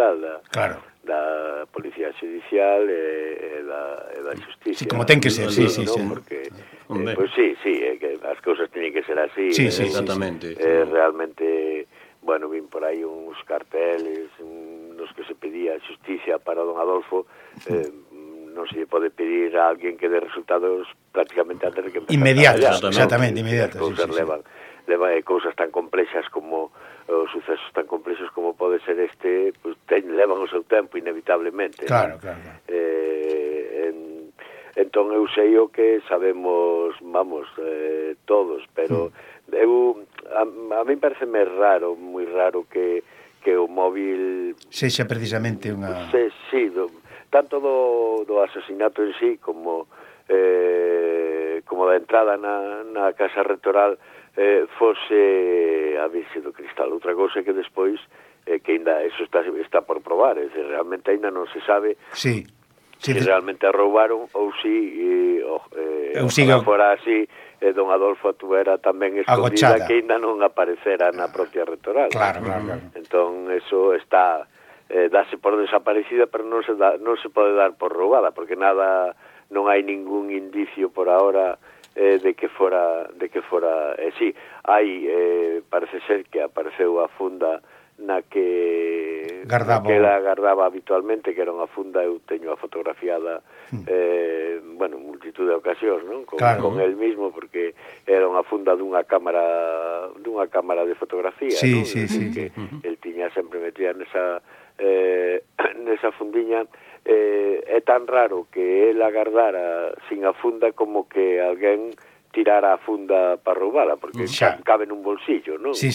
fundamental da Policía Judicial e da Justicia. Sí, como ten que ser, sí. Porque, pois sí, que as cousas teñen que ser así. Sí, exactamente. Realmente, bueno, vin por aí uns carteles nos que se pedía justicia para don Adolfo. Non se lle pode pedir a alguén que dé resultados prácticamente antes de que empezar inmediatos, exactamente, inmediatos. As cousas levan cousas tan complexas como os sucesos tan complexos como pode ser este, pues, levan o seu tempo inevitablemente. Claro. Entón eu sei o que sabemos, todos, pero a mí pareceme raro, moi raro que o móvil sexa precisamente unha... Sí, tanto do asesinato en sí como da entrada na Casa Rectoral fose a Virxe do Cristal. Outra cousa que despois que ainda eso está por probar, é decir, realmente ainda non se sabe se realmente a roubaron ou si fora así don Adolfo tuvera tamén escondida que ainda non aparecera na propia Rectoral. Claro. Entón eso está dase por desaparecida, pero non se pode dar por roubada, porque non hai ningún indicio por ahora de que fora sí, hai parece ser que apareceu a funda na que gardaba habitualmente, que era unha funda, eu teño a fotografiada multitud de ocasións, non? Con el mismo, porque era unha funda dunha cámara de fotografía, non? Sí. Que el tiña sempre metida nesa fundiña. É tan raro que el agardara sin a funda como que alguén tirara a funda para roubala, porque cabe nun bolsillo, non? Sí.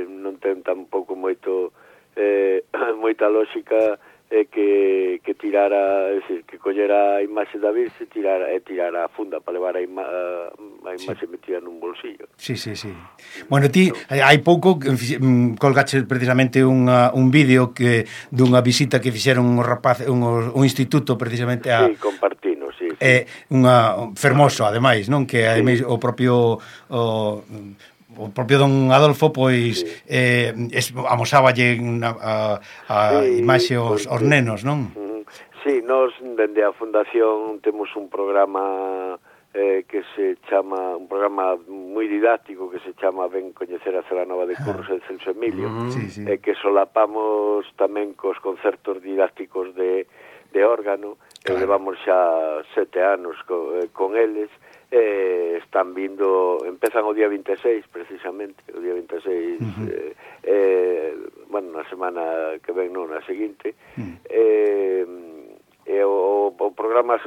Non ten tampouco moita lógica que tirara, é dicir, que collera a imaxe da Virxe tirara a funda para levar a imaxe metida nun bolsillo. Sí. Bueno, ti hai pouco colgaches precisamente un vídeo dunha visita que fixeron un instituto precisamente a... Sí, compartino, sí. Unha fermoso, ademais, non? Que ademais o propio don Adolfo, pois amosáballe a imaxe aos nenos, non? Sí, nós dende a Fundación temos un programa que se chama, un programa moi didáctico que se chama Ben coñecer a Celanova de Curros e Celso Emilio, que solapamos tamén cos concertos didácticos de órgano, levamos xa 7 anos con eles. Están vindo, empezan o día 26 precisamente, o día 26 na semana que ven, non, na seguinte. O programa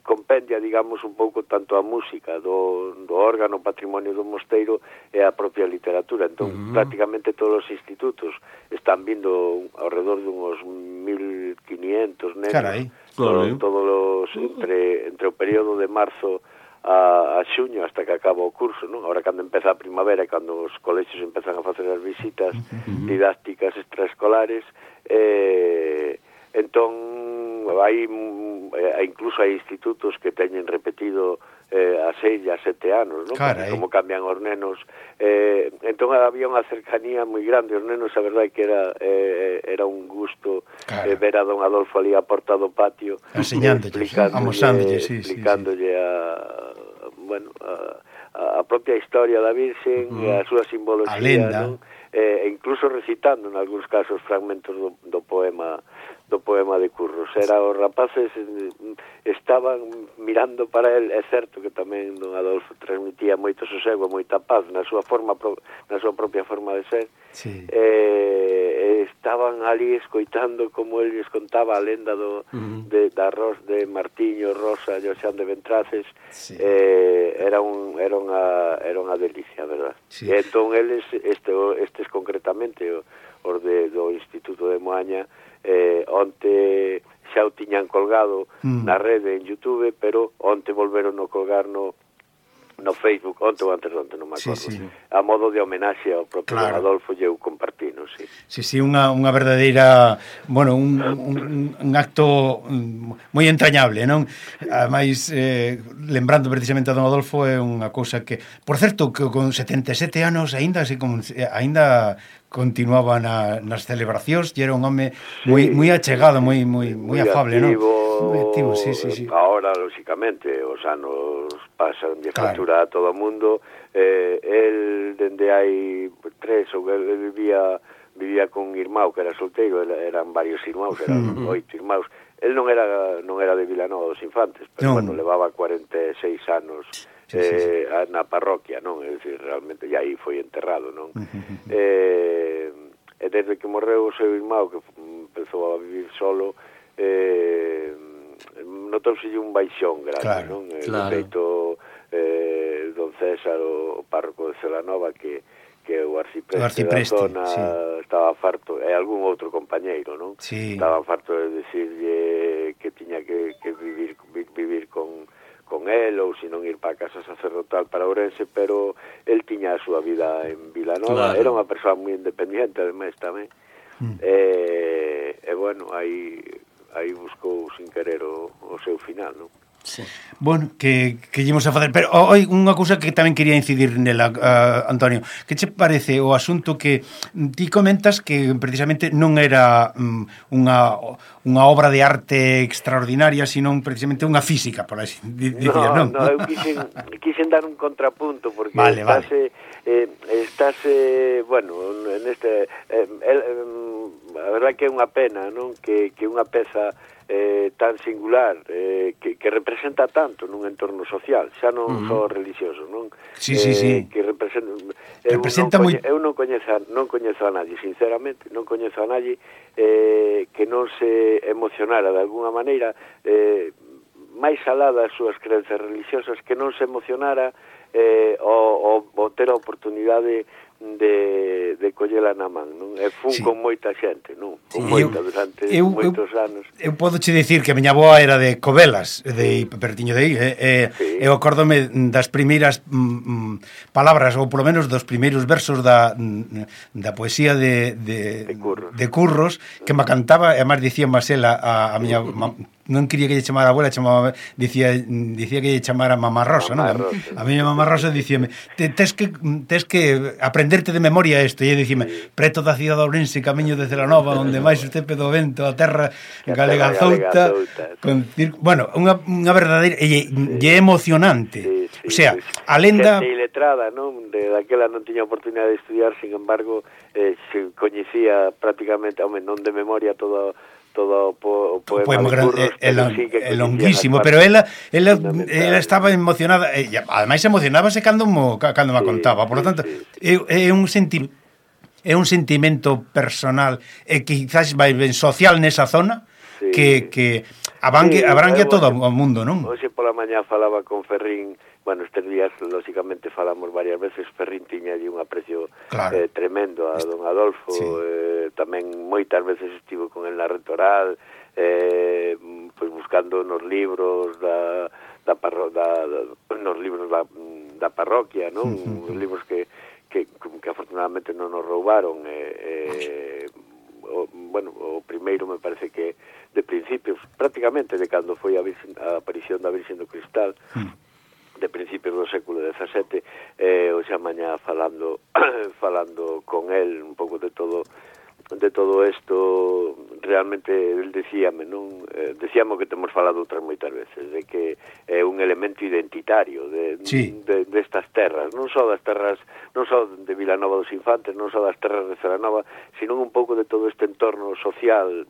compendia, digamos, un pouco tanto a música do órgano Patrimonio do Mosteiro e a propia literatura. Entón, prácticamente todos os institutos están vindo ao redor de uns 1.500 nenos. Carai. Todos entre o período de marzo a xuño hasta que acaba o curso, non? Ahora cando empeza a primavera e cando os colexios empezan a facer as visitas didácticas extraescolares, entón incluso hai institutos que teñen repetido a 6 e a 7 anos, non? Como cambian os nenos. Entón había unha cercanía moi grande. Os nenos, a verdade que era un gusto ver a don Adolfo ali a porta do patio explicándolle a propia historia da Virxen e a súa simbología, a lenda, non? E incluso recitando en algúns casos fragmentos do poema de Curros. Os rapaces estaban mirando para el. É certo que tamén don Adolfo transmitía moito sosego, moita paz na súa propia forma de ser. Estaban ali escoitando como el lles contaba a lenda de Martiño, Rosa e Oxán de Ventraces. Era unha delicia, verdad? E entón eles, estes concretamente os do Instituto de Moaña, onte xa o tiñan colgado na rede en YouTube, pero onte volveron a colgar no Facebook, onte ou antes de onte, non me acordo, a modo de homenaxe ao propio Adolfo, e eu compartino, unha verdadeira, bueno, un acto moi entrañable, non? Ademais, lembrando precisamente a don Adolfo, é unha cousa que, por certo, que con 77 anos aínda continuaba nas celebracións e era un home moi achegado, moi afable, non? Moi activo, sí. Ahora, lógicamente, os anos pasan de factura a todo o mundo. El, dende hai 3 ou el vivía con un irmão que era solteiro, eran varios irmãos, eran 8 irmãos. El non era de Vilanova dos Infantes, pero bueno, levaba 46 anos na parroquia, non? É dicir, realmente, e aí foi enterrado, non? E desde que morreu o seu irmão, que empezou a vivir solo, notouse un baixón grande, non? De feito, don César, o párroco de Celanova, que o arcipreste da zona estaba farto, e algún outro compañeiro, non? Estaba farto de decirlle que tiña que vivir con él, ou se non ir para a casa sacerdotal para Ourense, pero el tiña a súa vida en Vilanova, era unha persoa moi independiente, ademais, tamén. E bueno, aí buscou sin querer o seu final, non? Sí. Bueno, que íamos a facer, pero oi, unha cousa que tamén quería incidir nela, Antonio, que che parece o asunto que ti comentas que precisamente non era unha obra de arte extraordinaria, sino precisamente unha física, por así dicir, non? No, eu quixen dar un contrapunto, porque estase, bueno, neste a verdade que é unha pena, non? Que unha peza tan singular que representa tanto nun entorno social, xa non só religioso, non? Sí. Que representa moi... Eu non coñezo a nadie, sinceramente, non coñezo a nadie que non se emocionara de alguna maneira, máis alá das súas crenzas religiosas, que non se emocionara o ter a oportunidade de collela na man, non? E fun con moita xente, non? Con moita durante moitos anos. Eu podo che dicir que a miña avoa era de Covelas, de pertiño de aí, eu acórdome das primeiras palabras, ou polo menos dos primeiros versos da poesía de Curros, que me cantaba, e además dicía Marcela, a miña non quería que lle chamara a abuela, dicía que lle chamara Mamá Rosa, non? A miña Mamá Rosa dicíame, tes que aprenderte de memoria isto, e dicíame, preto da cidade de Ourense, camiño de Celanova, onde máis o estepe do vento, a terra galega zouta, bueno, unha verdadeira, e é emocionante. O sea, a lenda... Xente iletrada, non? Daquela non tiña oportunidade de estudiar, sin embargo, se coñecía prácticamente, non de memoria, todo o poema de Curros, é longuísimo, pero ela estaba emocionada, e ademais emocionábase cando me contaba, por lo tanto, é un sentimento personal e quizás vai ben social nesa zona, que abrangue a todo o mundo, non? Hoxe pola mañá falaba con Ferrín. Bueno, estes días, lógicamente, falamos varias veces. Ferrín tiña allí un aprecio tremendo a don Adolfo. Tamén moitas veces estivo con el na Rectoral, pois buscando nos libros da parroquia, non? Os libros que afortunadamente non nos roubaron. O primeiro me parece que de principios, prácticamente de cando foi a aparición da Virxen do Cristal, de principios do século XVII, o xa mañá falando con el un pouco de todo isto, realmente el decíame, non? Decíamos que temos falado outras moitas veces, de que é un elemento identitario destas terras, non só das terras, non só de Vilanova dos Infantes, non só das terras de Celanova, sino un pouco de todo este entorno social,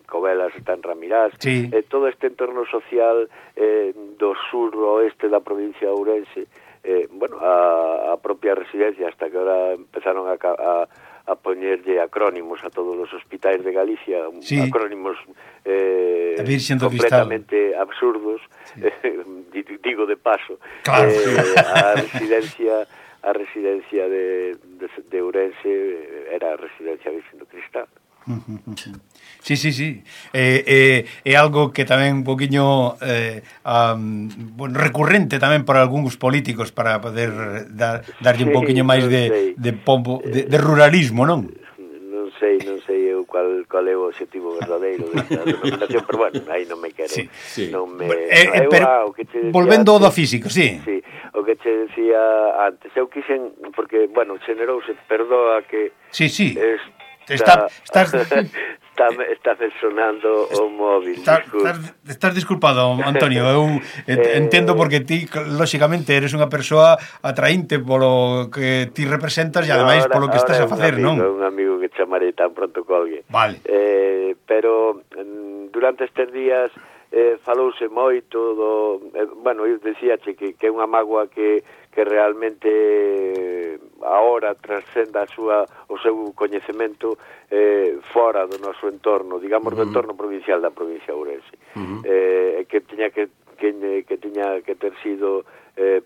Covelas está en Ramirás, todo este entorno social do sur oeste da provincia de Ourense, a propia residencia, hasta que ahora empezaron a poñerlle acrónimos a todos os hospitais de Galicia, acrónimos completamente absurdos, digo de paso, a residencia de Ourense era a residencia Virxen do Cristal. Sí. É algo que tamén un poquinho recurrente tamén para algúns políticos, para poder darlle un poquinho máis de pombo, de ruralismo, non? Non sei eu cual é o objetivo verdadeiro desta denominación, pero bueno, aí non me quero. Volvendo ao do físico, o que che decía antes. Eu quixen, porque, bueno, xenerouse, perdoa que... Sí. Está sonando o móvil. Estás disculpado, Antonio. Eu entendo porque ti, lóxicamente, eres unha persoa atraínte polo que ti representas e ademais polo que estás a facer, non? É un amigo que chamarei tan pronto colgue. Vale. Pero durante estes días falouse moito do... bueno, eu decíache que é unha mágoa que realmente agora transcenda o seu coñecemento fora do noso entorno, digamos, do entorno provincial da provincia de Ourense. Que tiña que ter sido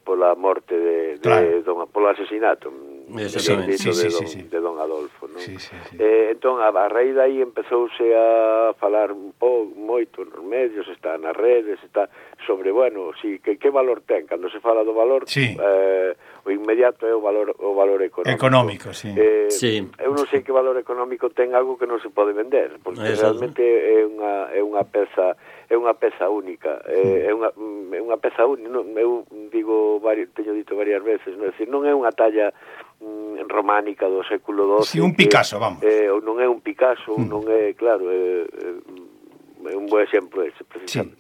pola morte polo asesinato de don Adolfo, non? Entón, a raíz de aí empezouse a falar moito nos medios, está nas redes, está sobre, bueno, que valor ten, cando se fala do valor, o inmediato é o valor económico. Eu non sei que valor económico ten algo que non se pode vender, porque realmente é unha peza única, é unha peza única. Eu teño dito varias veces, non é unha talla románica do século XII. Un Picasso, vamos. Non é un Picasso, non é, claro, é un bo exemplo ese, precisamente.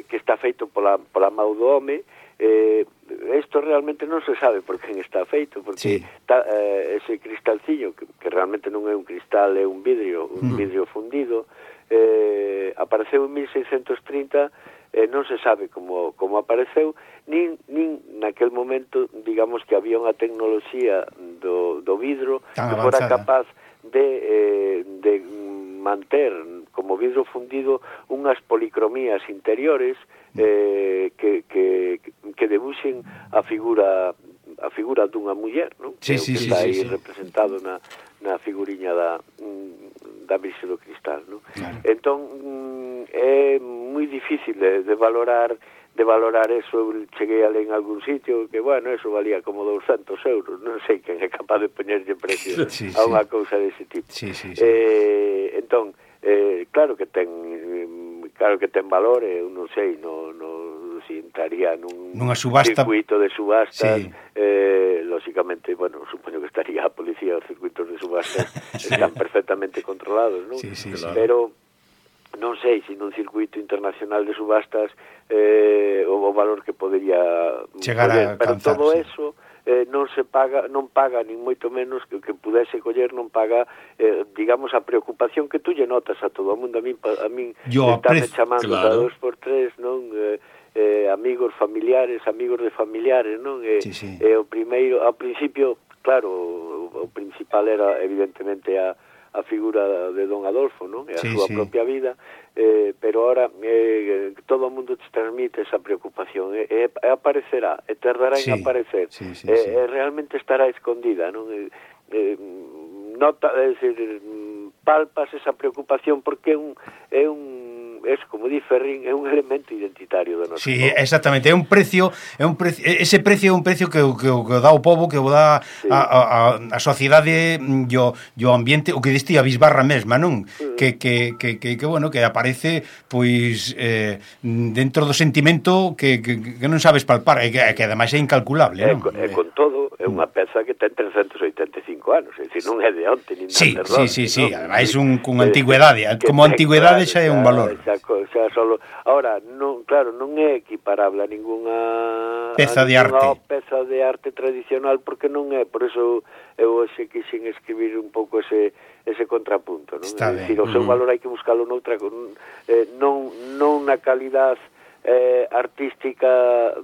Que está feito pola mão do home. Isto realmente non se sabe por quen está feito, porque ese cristalciño, que realmente non é un cristal, é un vidrio fundido, apareceu en 1630. Non se sabe como apareceu, nin naquel momento, digamos, que había unha tecnoloxía do vidro que fora capaz de manter como vidro fundido unhas policromías interiores que debuxen a figura dunha muller, non? Que está aí representado na figuriña da Virxe do Cristal, non? Entón é moi difícil de valorar eso. Eu cheguei a ler en algún sitio que, bueno, eso valía como 200 euros, non sei quen é capaz de poñerlle precio a unha cousa dese tipo. Entón, claro que ten valor, eu non sei, si entraría nunha circuito de subastas, lógicamente, bueno, supoño que estaría a policía, os circuitos de subastas están perfectamente controlados, non? Pero non sei se nun circuito internacional de subastas o valor que podería chegar a pero alcanzar, todo eso non paga nin moito menos que pudese coller, non paga digamos a preocupación que tú lle notas a todo o mundo. A min estame chamando cada 2x3, non? Amigos familiares, amigos de familiares, non? O primeiro, ao principio, claro, o principal era evidentemente a figura de don Adolfo, non? E a súa propia vida, pero ahora todo o mundo te transmite esa preocupación, aparecerá, tardará en aparecer, realmente estará escondida, non? Palpas esa preocupación porque é como di Ferrín, é un elemento identitario do noso povo. Exactamente, ese precio é un precio que dá o povo, que o dá a sociedade e o ambiente, o que distía a bisbarra mesma, non? Que bueno, que aparece pois dentro do sentimento que non sabes palpar, e que ademais é incalculable, non? Con todo, é unha peza que ten 385 anos, é dicir, non é de onte, nin de terror. Sí, ademais con antigüedade, como antigüedade xa é un valor. Ahora, claro, non é equiparable a ninguna peza de arte tradicional, porque non é, por eso eu hoxe quixen escribir un pouco ese contrapunto, non? Está ben. O seu valor hai que buscalo noutra, non na calidad artística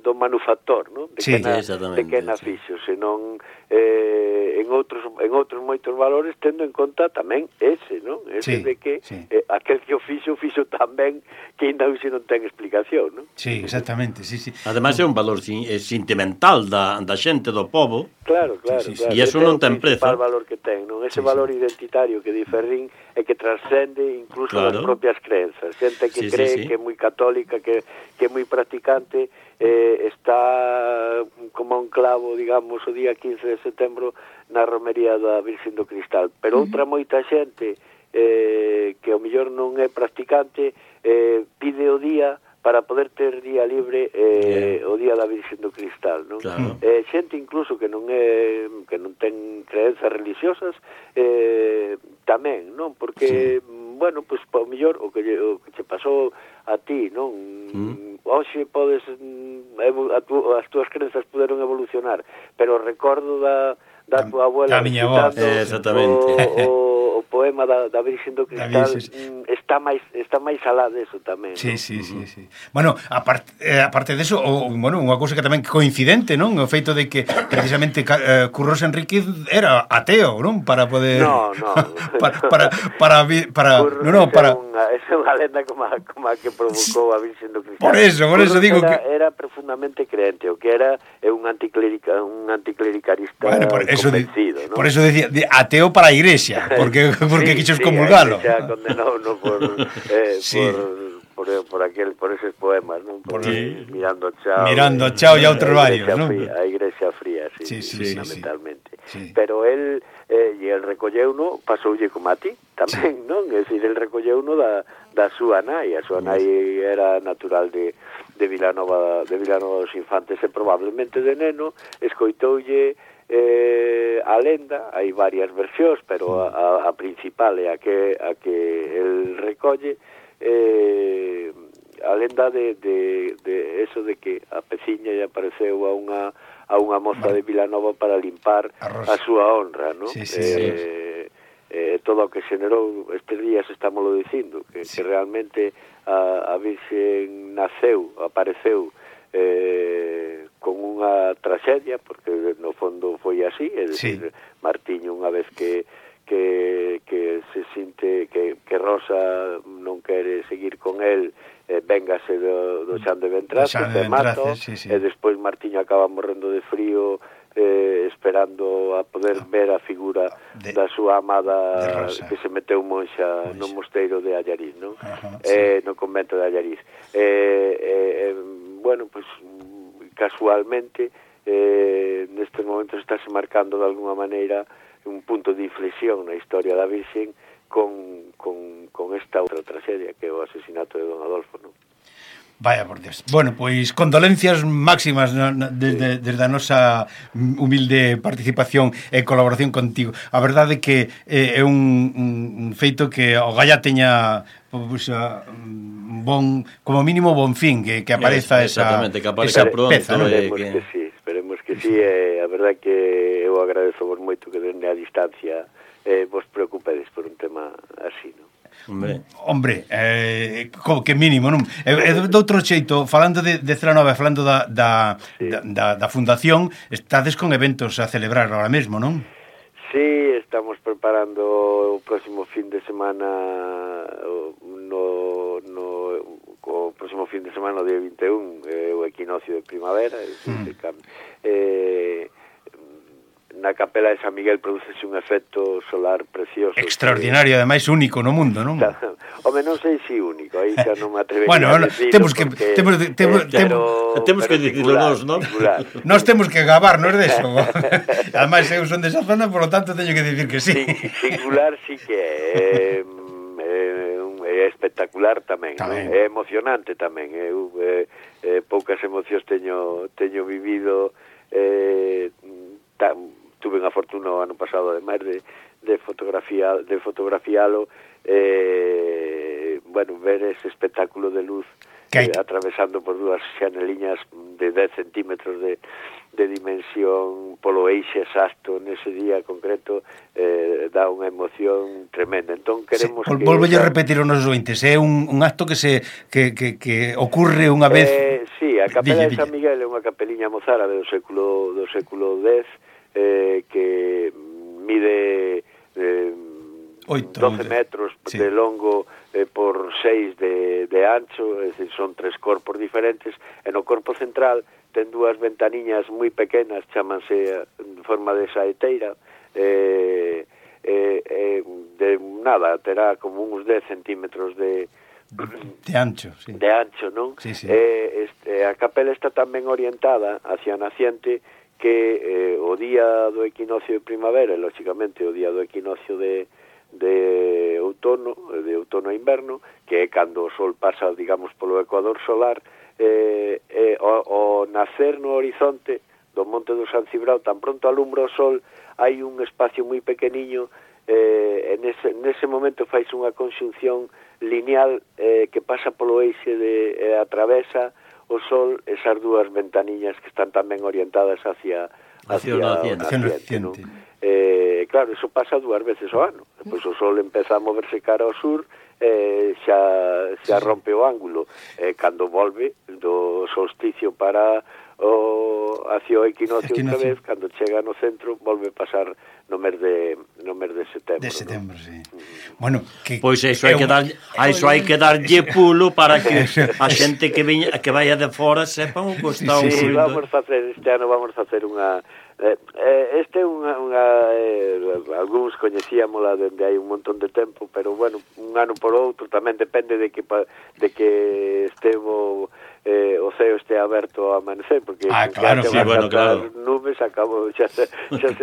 do manufactor, non? De que na fixo, senón en outros moitos valores, tendo en conta tamén ese, non? Ese de que aquel que o fixo tamén que ainda hoxe non ten explicación, non? Sí, exactamente, sí. Ademais é un valor sentimental da xente do povo. Claro. E iso non ten prezo. O valor que ten, non? Ese valor identitario que di Ferrín é que transcende incluso as propias crenzas. Xente que cree que é moi católica, que é moi practicante, está como un clavo, digamos, o día 15 de setembro na romería da Virxen do Cristal, pero outra moita xente que ao mellor non é practicante pide o día para poder ter día libre o día da Virxen do Cristal, non? Claro. Xente incluso que non ten creencias religiosas tamén, non? Porque bueno, pois ao mellor o que che pasou a ti, non? Hoxe podes as túas crenzas poderon evolucionar, pero recordo da tua abuela da miña voz, exactamente. O poema da Virxen do Cristal está máis alá deso tamén. Sí. Bueno, aparte deso, bueno, unha cousa que tamén coincidente, non? O feito de que precisamente Curros Enríquez era ateo, non? Para poder para esa é unha lenda como a que provocou a Virxen do Cristal. Por eso digo que era profundamente creente, o que era un anticlericalista, bueno, convencido, ¿no? Por eso decía ateo para a igrexa, porque quisos comulgalo. A igrexa condenouno por eses poemas, non? Mirando chao e outros varios, non? A igrexa fría, fundamentalmente. Sí. Pero el recolleuno, pasoulle como a ti tamén, non? É dicir, el recolleuno da súa nai. A súa nai era natural de Vilanova dos Infantes, e probablemente de neno escoitoulle a lenda. Hai varias versións, pero a principal é a que el recolle, a lenda de eso de que a peciña lle apareceu a unha moza de Vilanova para limpar a súa honra, non? Todo o que xenerou estes días, estámoslo dicindo, que realmente a Virxen apareceu con unha traxedia, porque no fondo foi así, é dicir, Martiño, unha vez que se sinte que Rosa non quere seguir con el, véngase do Xan de Ventraces, de Mato, e despois Martiño acaba morrendo de frío, esperando a poder ver a figura da súa amada que se meteu monxa no mosteiro de Allariz, non? No convento de Allariz. Bueno, pues casualmente nestes momentos estáse marcando de alguna maneira un punto de inflexión na historia da Virxen con esta outra tragedia que é o asesinato de Don Adolfo, non? Vaya por Dios. Bueno, pois condolencias máximas desde a nosa humilde participación e colaboración contigo. A verdade é que é un feito que o Galla teña como mínimo bon fin, que apareza esa peza, ¿no? Esperemos que sí, a verdade que eu agradezo vos moito que dende a distancia vos preocupedes por un tema así, non? Hombre, que mínimo, non? De outro xeito, falando de Celanova, falando da fundación, estades con eventos a celebrar ahora mesmo, non? Sí, estamos preparando o próximo fin de semana o próximo fin de semana, o día 21, o equinoccio de primavera, na capela de San Miguel producese un efecto solar precioso, extraordinario, ademais único no mundo, non? Home, non sei se único, aí xa non me atrevería a decirlo. Temos que dicirlo nós, non? Nós temos que gabarnos deso. Ademais, eu son desa zona, por lo tanto, teño que dicir que sí. Singular sí que é espectacular tamén, é emocionante tamén. Eu poucas emocións teño vivido, tuve unha fortuna o ano pasado ademais de fotografialo, bueno, ver ese espectáculo de luz atravesando por dúas xaneliñas de 10 centímetros de dimensión polo eixe exacto nese día concreto, dá unha emoción tremenda. Entón queremos que... Volvolle a repetir os nosos ointes, é un acto que ocurre unha vez... Sí, a capela de San Miguel é unha capeliña mozárabe do século X, que mide 12 metros de longo por 6 de ancho, é dicir, son 3 corpos diferentes, e no corpo central ten dúas ventaniñas moi pequenas, chámanse en forma de saeteira, de nada, terá como uns 10 centímetros de ancho, sí. De ancho, non? Sí. A capela está tamén orientada hacia a naciente, que o día do equinoccio de primavera, e lógicamente o día do equinoccio de outono a inverno, que é cando o sol pasa, digamos, polo ecuador solar, o nacer no horizonte do monte do San Cibrao, tan pronto alumbra o sol, hai un espacio moi pequeniño, nese momento faise unha conxunción lineal que pasa polo eixe atravesa o sol esas dúas ventaniñas que están tamén orientadas hacia o naciente, ¿no? Claro, eso pasa 2 veces ao ano. Depois o sol empeza a moverse cara ao sur, xa rompe o ángulo. Cando volve do solsticio para hacia o equinoccio outra vez, cando chega no centro, volve a pasar no mes de setembro. De setembro, ¿no? Sí. Bueno, pois iso hai que darlle pulo para que a xente que vaya de fora sepan o que está ocurrindo. Sí, este ano vamos a facer unha este é unha algúns coñecíamola dende hai un montón de tempo, pero bueno, un ano por outro tamén depende de que estevo o ceo este aberto ao amanecer, porque claro, sí, bueno, claro, nubes acabo xa se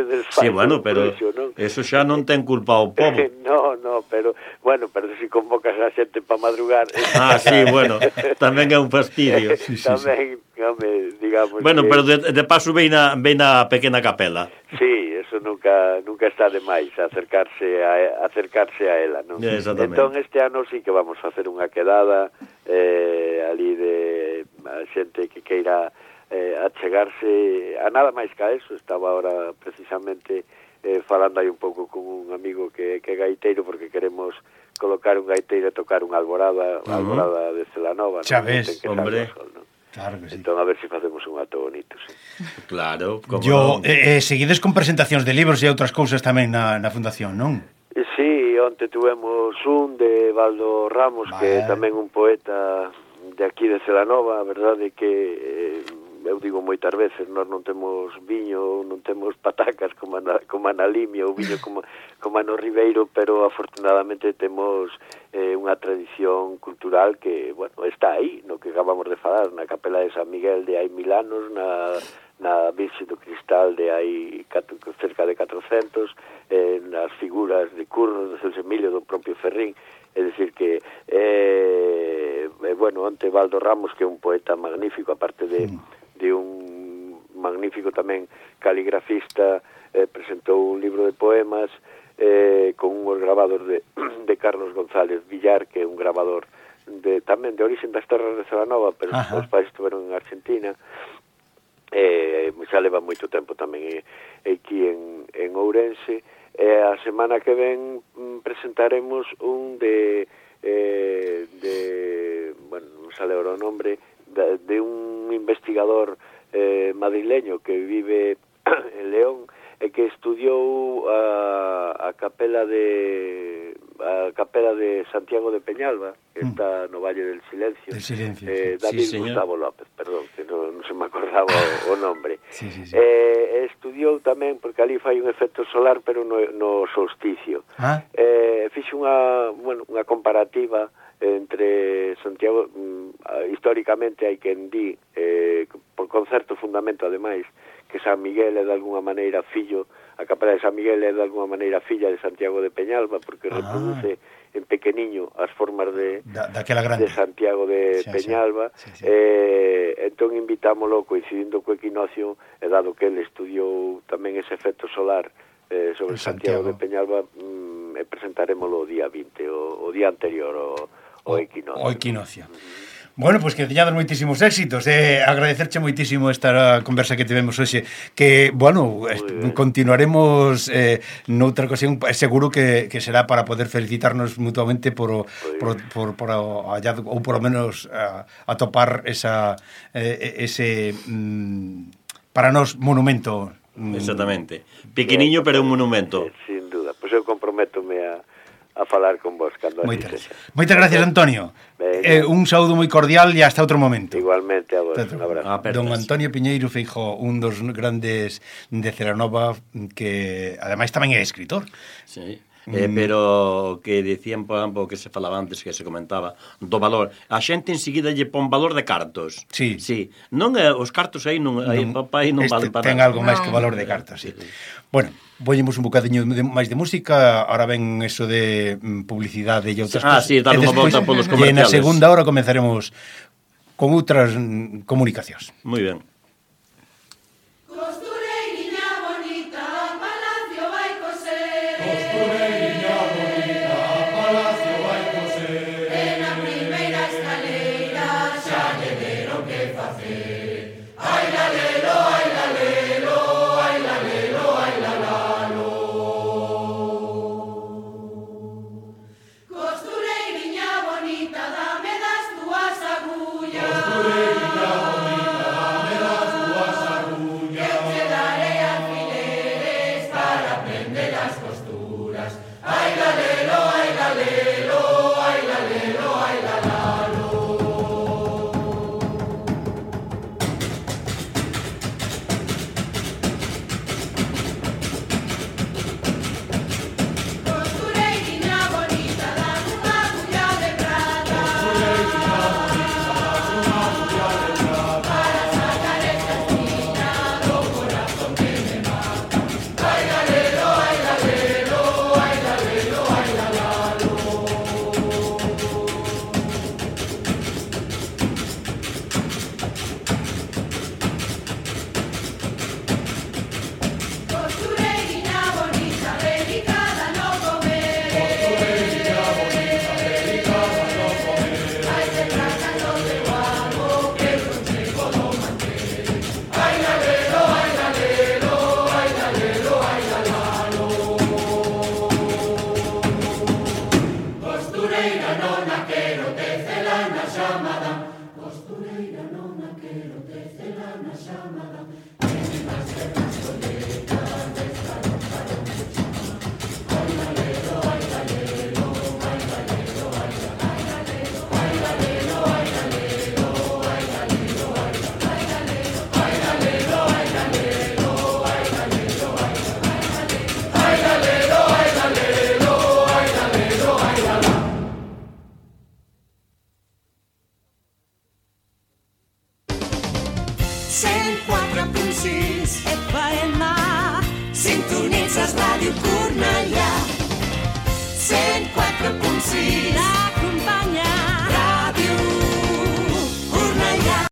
desfai. Sí, bueno, pero eso xa non ten culpa o povo. No, pero bueno, pero se convocas a xente para madrugar. Sí, bueno, tamén é un fastidio. Tamén, digamos. Bueno, pero de paso vei na pequena capela. Sí, eso nunca está de máis acercarse a ela, non? Exactamente. Entón este ano sí que vamos a facer unha quedada ali de a xente que queira achegarse a nada máis que a eso. Estaba ahora precisamente falando aí un pouco con un amigo que é gaiteiro, porque queremos colocar un gaiteiro e tocar unha alborada de Celanova, xa ves, hombre. Claro que sí. Entón a ver se facemos un acto bonito, sí. Claro, como seguides con presentacións de libros e outras cousas tamén na fundación, non? Sí, onte tuvemos un de Baldo Ramos, que é tamén un poeta de aquí de Celanova. A verdade que eu digo moitas veces, nós non temos viño, non temos patacas como na Limia, ou viño como no Ribeiro, pero afortunadamente temos unha tradición cultural que, bueno, está aí, no que acabamos de falar, na Capela de San Miguel de hai 1000 anos, na Virxe do Cristal de hai cerca de 400, nas figuras de Curro, de Celso Emilio, do propio Ferrín. É dicir que bueno, onte Baldo Ramos, que é un poeta magnífico, aparte de un magnífico tamén caligrafista, presentou un libro de poemas con unhos grabados de Carlos González Villar, que é un grabador tamén de orixen das terras de Celanova, pero os pais estuveron en Argentina. Xa leva moito tempo tamén aquí en Ourense. A semana que ven presentaremos un de bueno, non sale ahora o nombre, de un investigador madrileño que vive en León e que estudiou a capela de Santiago de Peñalba, que está no Valle del Silencio. David Gustavo López, perdón, que non se me acordaba o nombre. Sí. Estudiou tamén, porque ali fai un efecto solar, pero no solsticio. Fixo unha comparativa entre Santiago, históricamente hai quen di, por concerto fundamento ademais, que San Miguel é de alguna maneira fillo, a Capela de San Miguel é de alguna maneira filla de Santiago de Peñalba, porque reproduce en pequeniño as formas de Santiago de Peñalba. Entón invitámolo, coincidindo co equinoccio, e dado que ele estudiou tamén ese efecto solar sobre Santiago de Peñalba, presentaremoslo o día 20, o día anterior o equinoccio. O equinoccio. Bueno, pois que teñades moitísimos éxitos. Agradecerche moitísimo esta conversa que tivemos hoxe, que, bueno, continuaremos noutra ocasión, seguro que será para poder felicitarnos mutuamente por hallazgo, ou por lo menos atopar ese para nós monumento. Exactamente. Pequeniño, pero un monumento. Sin duda. Pois eu comprométome a falar con vos cando Moitas gracias, Antonio. Un saúdo moi cordial e hasta outro momento. Igualmente a vos, un abrazo. Don Antonio Piñeiro Feijóo, un dos grandes de Celanova, que ademais tamén é escritor. Sí. pero que dicían, por exemplo, que se falaba antes, que se comentaba, do valor. A xente enseguida lle pon valor de cartos. Sí. Non os cartos aí non vale para ten algo máis que valor de cartos, sí. Bueno, vollemos un bocadiño máis de música, ahora ven eso de publicidade e outras cosas. Sí, dar unha volta polos comerciales. E na segunda hora comenzaremos con outras comunicacións. Moi ben. Sintonitzes Ràdio Cornellà 104.6